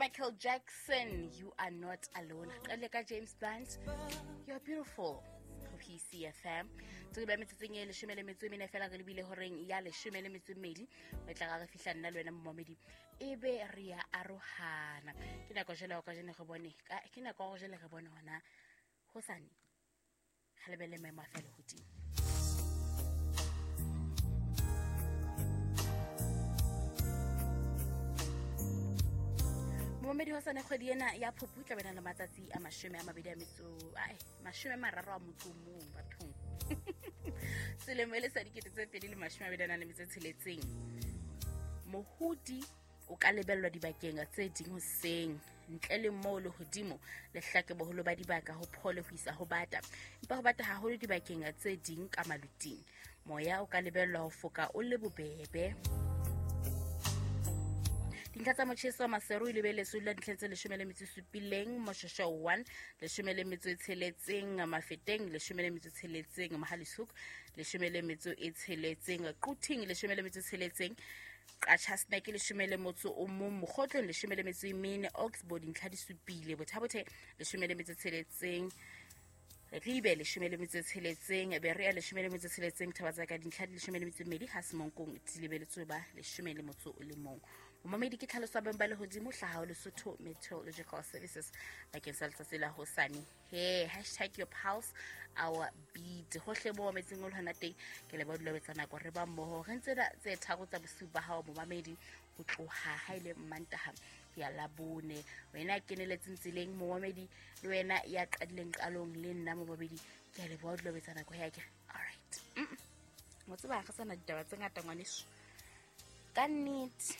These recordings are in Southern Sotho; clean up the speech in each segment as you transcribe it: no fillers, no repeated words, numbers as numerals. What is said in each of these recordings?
Michael Jackson, You Are Not Alone. Re qadile ka James Blunt, You're Beautiful, ho PCFM. Tse ba metsotsong e 14 fela re lebile horeng ya 12, re tla re fihla nna le wena momamedi ebe re ya arohana. Ke nako jwale ka jeno re bone, ke nako ya jwale re bone hona hosane. Re lebelle maemo a fela hodimo. Momamedi, hosane kgwedi ena ya Phupu e tla bena le matsatsi a 31 bathong. Selemo e le sa 2026. Mohodi o ka lebellwa dibakeng tse ding hoseng, ntle le moo lehodimo le hlake boholo ba dibaka ho phole ho isa ho bata, empa ho bata haholo dibakeng tse ding ka maluting. Moya o ka lebellwa ho foka o le bobebe. Dintlha tsa motjheso wa Maseru e lebeletswe la dintlha tse 17, Moshosho 1 16, Mafeteng 16, Mohale's 16, Quthing 16, Qacha's Nek 11, Mokgotlong 14, Oxbow dintlha di 7, Botha-Bothe 16, Ribe 16, Berea 16, Thabatsaka dintlha di 12, ha Semonkong di lebeletswe ba 11. Momamedi, ke tlhaloso ya beng ba lehodimo hlaha ho Lesotho Meteorological Services bakeng sa letsatsi la hosane. He, hashtag your pulse our beat. Hohle mo mametseng o le hona teng, ke leboha dula etsa nako re ba mmoho. Re ntse tse 3 tsa bosiu ba hao momamedi, ho tloha ha ile Mmantaha ya Labone. Wena keneletseng tseleng momamedi, le wena ya qadileng qalong le nna momamedi, ke a leboha dula etsa nako ya ke. All right. Mo tseba re sana ditaba tse ngata ngwaneso. Ka nnete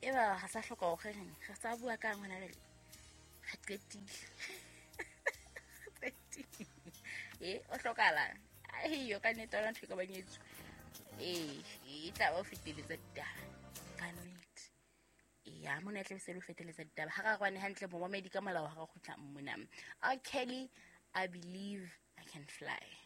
eba ga sa hloka hore re sa bua ka ngwana le re qetile. O hlokala. Ai yo ka nnete ona ntho ka banyetso. E tla ba feteletsa ditaba. Ka nnete. Ya mona tla se lo feteletsa ditaba. Ha ra rwane hantle momamedi ka molao ha re kgutla mmona. R. Kelly, I Believe I Can Fly.